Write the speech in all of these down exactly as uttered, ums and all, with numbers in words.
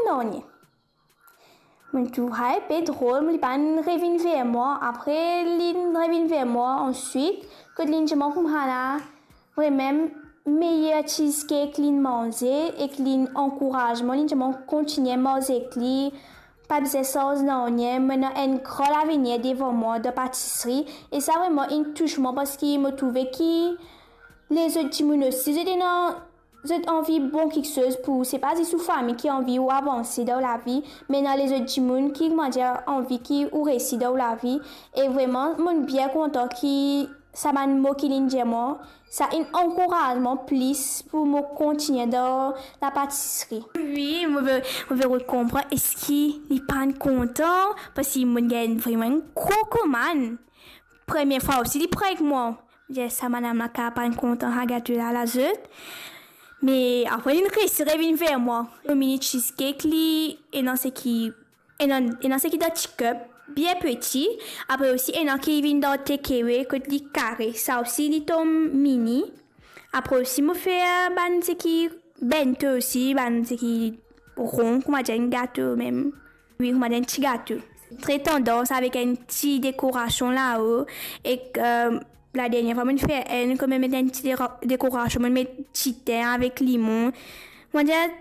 nanye. Mo'nn trouv sa inpe drol, li pa'nn revinn ver mwa. Apre, li'nn revinn ver mwa answit, kot li'nn dir mwa koumsa la, vremem meyer cheesecake li'nn manze ek li'nn ankouraz mwa, li'nn dir mwa kontigne manz ek li, pa bizin sarz nanye, mo ena enn gran lavenir devan mwa dan patisri. E sa vremem inn tous mwa, parski mo trouve ki lezot dimoun osi, zot ena, zot anvi bon kiksoz pou ou. Se pa zis ou fami ki anvi ou avanse dan ou lavi, me ena lezot dimoun ki, koumadir, anvi ki ou resi dan ou lavi. E vremem, mo'nn bien kontan ki sa bann mo ki li'nn dir mwa, sa inn ankouraz mwa plis pou mo kontigne dan lapatisri. Wi, mo pe, mo pe konpran eski li pa'nn kontan, parski mo'nn gagn vremem enn gro komann. Premie fwa osi, li pran ek mwa. Mo dir, sa madam la kapav pa'nn kontan sa gato la, lazot. Me apre, li'nn resi revinn ver mwa. Mo mini cheesecake, li ena seki, ena, ena seki dan ti cup, bien piti. Apre osi, ena ki vinn dan takeaway, kot li kare. Sa osi, li tom mini. Apre osi, mo fer bann seki bento osi, bann seki ron, koumadir enn gato mem. Wi, koumadir enn ti gato. Tre tandans avek enn ti dekorasion lao. Ek, eh, ladernie fwa mo'nn fer enn, kan mo'nn met enn ti dera-, dekorasion, mo'nn met ti tin avek limon. Koumadir,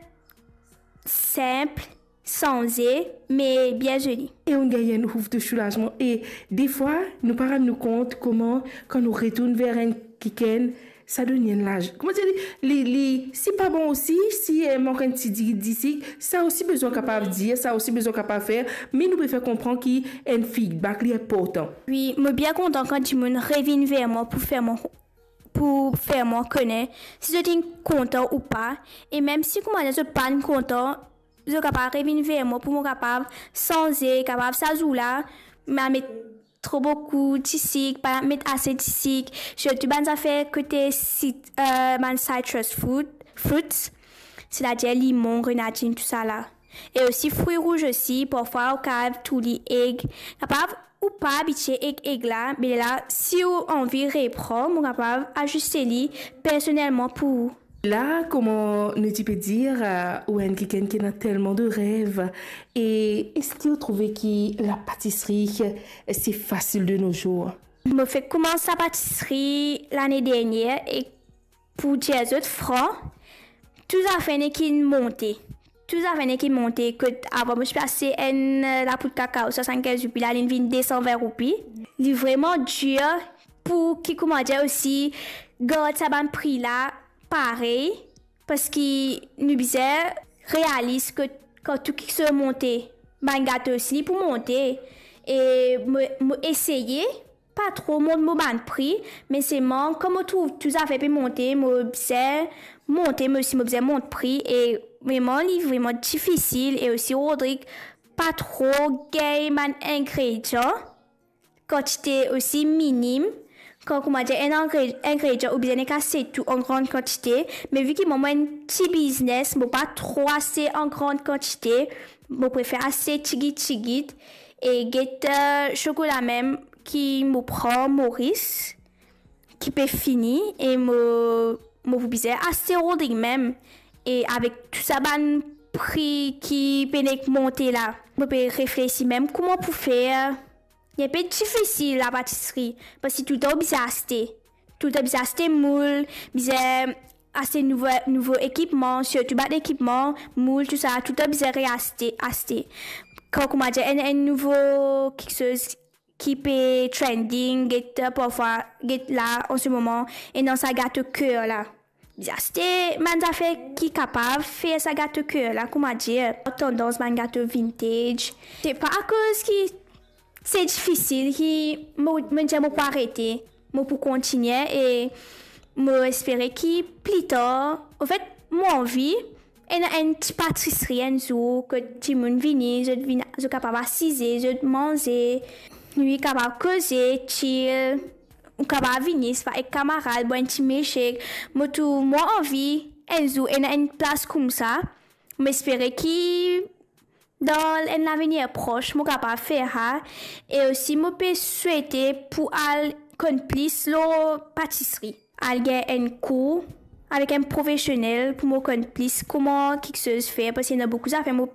sinp, sanze, me bien zoli. E ou gagn enn ouf de soulazman. E defwa, nou pa rann nou kont kouma, kan nou retourn ver enn kikenn, sa donn enn laz-, koumadir, li, li, li, si pa bon osi, si, eh, mank enn ti di-, disik, sa osi bizin kapav dir, sa osi bizin kapav fer, me nou pe fer konpran ki enn feedback, li inportan. Wi, mo bien kontan kan dimoun revinn ver mwa pou fer mwa, pou fer mwa kone si zot inn kontan ou pa. E mem si, koumadir, zot pa'nn kontan, zot kapav revinn ver mwa pou mo kapav sanze, kapav sa zour la, ma met tro boukou disik, pa met ase disik, sirtou bann zafer kote sit-, eh, bann citrus fruit, fruits, setadir limon, grenadinn, tousala. E osi fri rouz osi, parfwa ou kapav touy li eg. Kapav ou pa abitie ek eg la, me la, si ou anvi repran, mo kapav aziste li personelman pou ou. La, kouma nou ti pe dir, eh, ou enn kikenn ki ena telman de rev, e eski ou trouve ki lapatisri, eh, se fasil de nos jours? Mo fek koumans lapatisri lane dernie, e pou dir zot fran, tou zafer nek inn monte. Tou zafer nek inn monte, kot avan mo ti pe aste enn, eh, lapoud kakao swasannkinz roupi, la li'nn vinn de san vin roupi. Li vremem dir pou ki, koumadir, osi gard sa bann pri la parey, parski nou bizin realis ki kan tou kiksoz monte, bann gato osi li pou monte. E mo, mo eseye pa tro mont mo bann pri, me selman kan mo trouv tou zafer pe monte, mo bizin monte, mo osi mo bizin mont pri, e vremem, li vremem difisil, e osi Rodrig pa tro gagn bann ingredian, kantite osi minim. Kan, koumadir, enn ingre-, ingredian, ou bizin nek aste tou an gran kantite, me vi ki mwa, mo enn ti biznes, mo pa tro aste an gran kantite, mo prefer aste tigit tigit, e get, eh, sokola mem ki mo pran Maurice, ki pe fini, e mo, mo pou bizin aste Rodrig mem, e avek tou sa bann pri ki pe nek monte la, mo pe reflesi mem kouma pou fer. Li inpe difisil lapatisri, parski toultan ou bizin aste. Toultan bizin aste moul, bizin aste nouvo, nouvo ekipman, sirtou bann ekipman, moul, tousala, toultan bizin reaste, aste. Kan, koumadir, enn, enn nouvo kiksoz ki pe trending, get, parfwa, get la, an se moman, ena sa gato ker la. Bizin aste bann zafer ki kapav fer sa gato ker la, koumadir, tandans bann gato vintage. Se pa akoz ki se difisil ki mo, mo dir mo pou arete, mo pou kontigne, e mo espere ki pli tar, anfet, mo anvi ena enn ti patisri enn zour, kot dimoun vini, zot vinn, zot kapav asize, zot manze, nou kapav koze, chill, ou kapav vini, swa ek kamarad, bwar enn ti milkshake. Mo tou, mo anvi enn zour ena enn plas koumsa. Mo espere ki dan enn lavenir pros, mo kapav fer sa. E osi, mo pe swete pou al konn plis lor patisri. Al gagn enn kour avek enn profesionel pou mo konn plis kouma kiksoz fer, parski ena boukou zafer mo